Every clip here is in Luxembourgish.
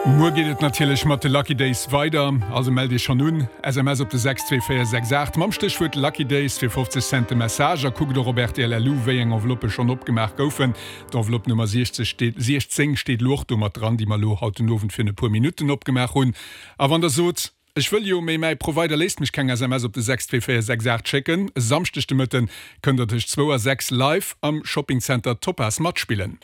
Muer geet et natierlech mat de Lucky Days weider, also mellt iech schonn un. SMS op de 62468 mam Stéchwuert Lucky Days fir 50 Cent de Message a kuckt och op rtl.lu wéi eng Enveloppë schonn opgemaach goufen. D'Enveloppe Nummer 60 steet 16 steet elo och do mat dran, déi mer elo haut den Owend virun e puer Minutten opgemaach hunn. A wann der sot, Ech wëll jo, mee mäi Provider léisst mech keng SMS op de 62468 schécken, e Samschdeg de Mëtten kënnt der tëscht zwou a 6 live am Shoppingcenter Topaz matspillen.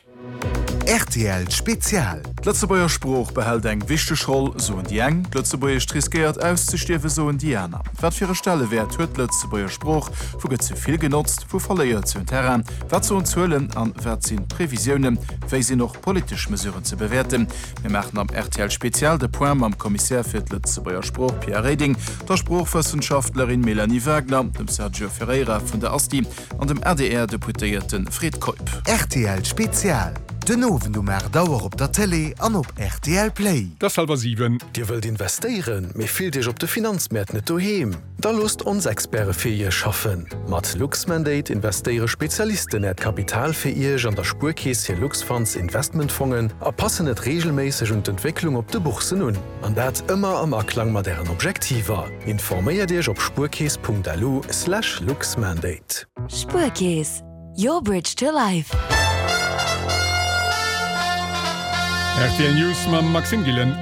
Rtl Spezial. D'Lëtzebuerger Sprooch behält eng wichteg Roll, soen déi eng, d'Lëtzebuergescht riskéiert auszestierwen, soen déi aner. Wat fir e Stellewäert huet d'Lëtzebuerger Sprooch? Wou gëtt se vill genotzt, wou verléiert se un Terrain? Wat soen d'Zuelen an wat sinn d'Previsiounen? Wéi sinn och politesch Mesuren ze bewäerten? Mir maachen am rtl Spezial de Point mam Kommissär fir d'Lëtzebuerger Sprooch Pierre Reding, der Sproochwëssenschaftlerin Mélanie Wagner, dem Sergio Ferreira vun der Asti an dem ADR-Deputéierte Fred Keup. Rtl Spezial, den Owend um 8 Auer op der Télé an op rtl Play. Et ass hallwer 7. Dir wëllt investéieren, mee fillt Iech op de Finanzmäert net doheem? Da loosst ons Experte fir Iech schaffen! Mat Luxmandate investéiere Spezialisten Äert Kapital fir Iech an der Spuerkeess hir Luxfunds Investmentfongen a passen et reegelméisseg un d'Entwécklung op de Bourssen un. An dat ëmmer am Aklang mat Ären Objektiver. Informéiert Iech op spuerkeess.lu slash luxmandate. Spuerkeess, your bridge to life. Rtl News mam Maxime Gillen.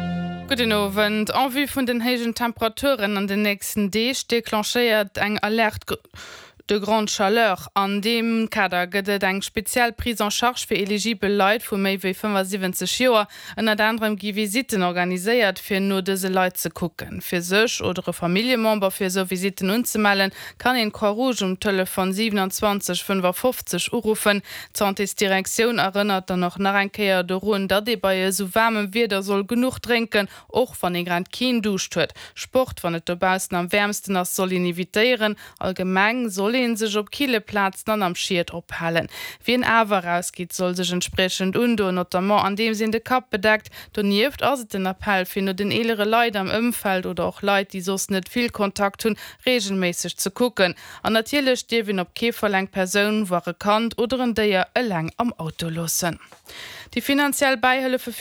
Gudden Owend. En vue vun den héijen Temperaturen an den nächsten Deeg declenchéiert eng Alerte de grande chaleur. An deem Kader gëtt et eng speziell Prise en charge fir eligibel Leit vu méi wéi 75 Joer. Ënnert anerem gi Visitten organiséiert, fir no dëse Leit ze kucken. Fir sech oder e Familljemember fir esou Visitten unzemellen, kann een d'Croix-Rouge um Telefon 27 55 uruffen. D'Santésdirektioun erënnert dann och nach eng Kéier dorun, datt ee bei esou waarmem Wieder soll genuch drénken, och wann ee grad keen Duuscht huet. Sport, wann et dobaussen am wäermsten ass, soll een evitéieren. Allgemeng soll ee sech op kille Plazen an am Schied ophalen. Wien awer erausgeet, soll sech entspriechend undoen, notamment andeems een de Kapp bedeckt. Donieft ass et den Appell, fir no den eelere Leit am Ëmfeld oder och Leit, déi soss net vill Kontakt hunn, reegelméisseg ze kucken. An natierlech dierf een op kee Fall eng Persoun, voire e Kand oder en Déier eleng am Auto loossen. Déi finanziell Bäihëllefe fir.